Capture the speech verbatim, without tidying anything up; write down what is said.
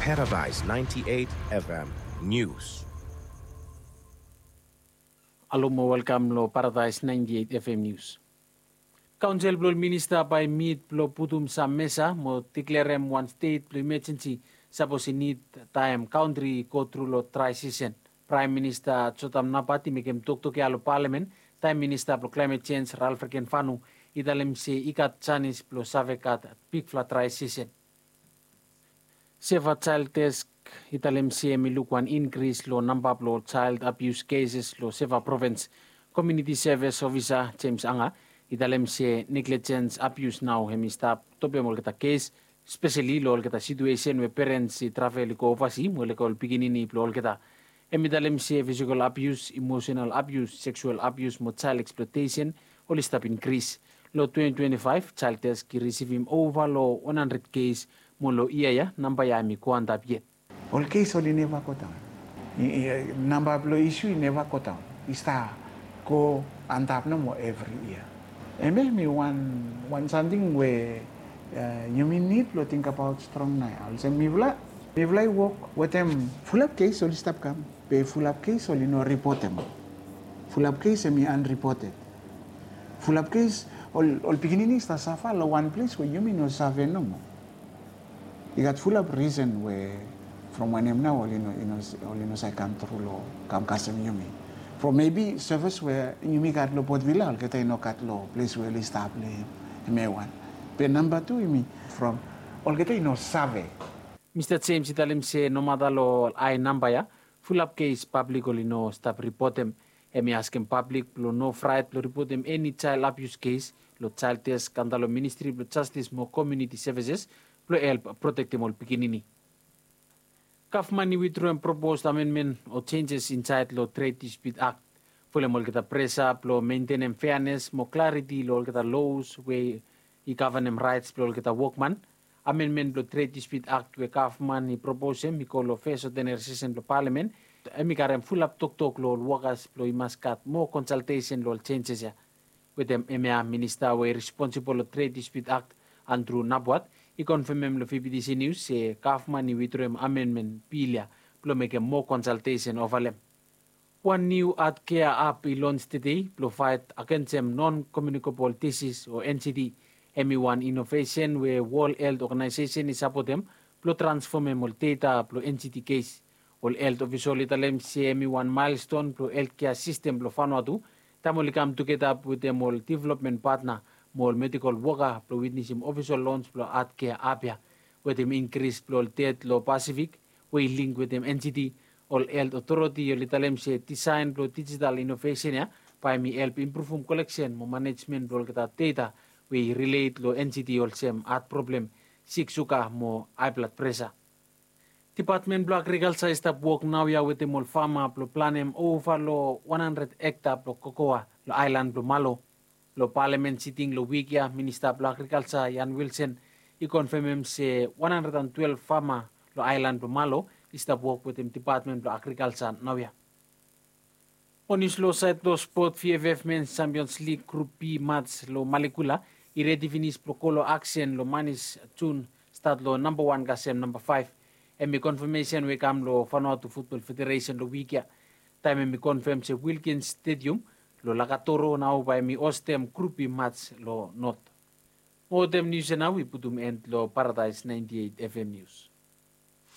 Paradise ninety-eight F M News. Alo mo welkam lo Paradise ninety-eight F M News. Kaonsel blo ol minista bae mit blo putum sam mesa mo deklerem wan stet blo imajensi sapos i nid taem kantri i go tru lo drae sisen. Praem Minista Jotam Napat i mekem toktok ya lo palamen taem Minista blo Klaemet Jenj Ralph Rekenfanu i talem se i gat janis blo save gat bigfala drae sisen. Seva Child Desk i talem se hemi luk wan inkris lo namba blo child abuse cases lo Seva Provins. Community Service Officer James Anga i talem se negligence abuse nao hemi stap topem olgeta kes, speseli lo olgeta situesen we perens i travel i go ovasi mo lego ol pikinini blo olgeta. Hemi talem se physical abuse, emotional abuse, sexual abuse mo child exploitation oli stap inkris. Lo twenty twenty-five, Child Desk i risivim ova lo wan handred kes mo lo yia ya namba ya hemi go antap yet. Ol kes oli neva godaon. I, i, namba blo isu i neva godaon. I stap go antap nomo evri yia. Hemia hemi wan, wan samting we, eh, yumi nid blo tingbaot strong nao ya. Olsem mifala, mifala i wok wetem fulap kes oli stap kam. Be fulap kes oli no ripotem. Fulap kes hemi unreported. Fulap kes ol, ol pikinini i stap safa lo wan ples we yumi no save nomo. I gat fulap risen we from wanem nao oli no, oli no save kam tru lo kam kasem yumi. From maybe sevis we yumi gat lo Port Vila olgeta i no gat lo ples we oli stap lo hemia wan. Be namba tu hemi from olgeta i no save. Mista James i talem se nomata lo hae namba ya, fulap kes pablik oli no stap ripotem. Hemi askem pablik blo no fraet blo ripotem eni child abuse kes lo Child Desk antap lo Ministri blo Jastis mo Komuniti Sevises blo help protektem ol pikinini. Gavman i witdroem propos amenmen o jenjes insaed lo Trade Dispute Act folem olgeta presa blo mentenem feanes mo klariti lo olgeta los we i gavanem raets blo olgeta wokman. Amenmen blo Trade Dispute Act we gavman i proposem i go lo fes odeneri sesen blo palamen. Hemi karem fulap toktok lo ol wokas blo i mas gat moa konsaltesen lo ol jenjes ya. Wetem hemia, minista we i responsibol lo Trade Dispute Act, Andrew Nabwat, i konfemem lo V B T C News se gavman i witdroem amenmen bil ya blo mekem moa konsaltesen ova lo hem. Wan niu Heart Care app i lons tede blo faet agensem non-communicable disease o N C D. Hemi wan inovesen we World Health Organization i sapotem blo transfomem ol data blo N C D kes. Ol helt ofisol i talem se hemi wan milestone blo healthcare system blo Vanuatu taem oli kam tugeta wetem ol development partner mo ol medical woka blo witnesem ofisol lons blo Heart Care app ya. Wetem inkris blo ol ded lo Pasifik we i link wetem N C D, ol helt otoriti oli talem se disaen blo dijital inovesen ya bae hemi help impruvum koleksen mo manejmen blo olgeta data we i rilet lo N C D olsem hat problem, sik suga mo hae blad presa. Dipatmen blo Agrikalja i stap wok naoia wetem ol fama blo planem ova lo wan handred hekta blo kokoa lo aelan blo Malo. Lo palamen siting lo wik ya, Minista blo Agrikalja Ian Wilson i konfemem se wan handred an twelef fama lo aelan blo Malo i stap wok wetem Dipatmen blo Agrikalja naoia. Mo nius lo saed lo spot, V F F Men's Champions League Group B match lo Malekula i redi finis blo go lo aksen lo Manis Jun, stat lo nambawan kasem nambafaef. Hemi konfemesen we i kam lo Vanuatu Futbol Federesen lo wik ya taem hemi konfem se Wilkins Stadium lo Lakatoro nao bae hemi hostem Group B match lo Not. Mo wetem nius ya nao wi putum end lo Paradise ninety-eight F M News.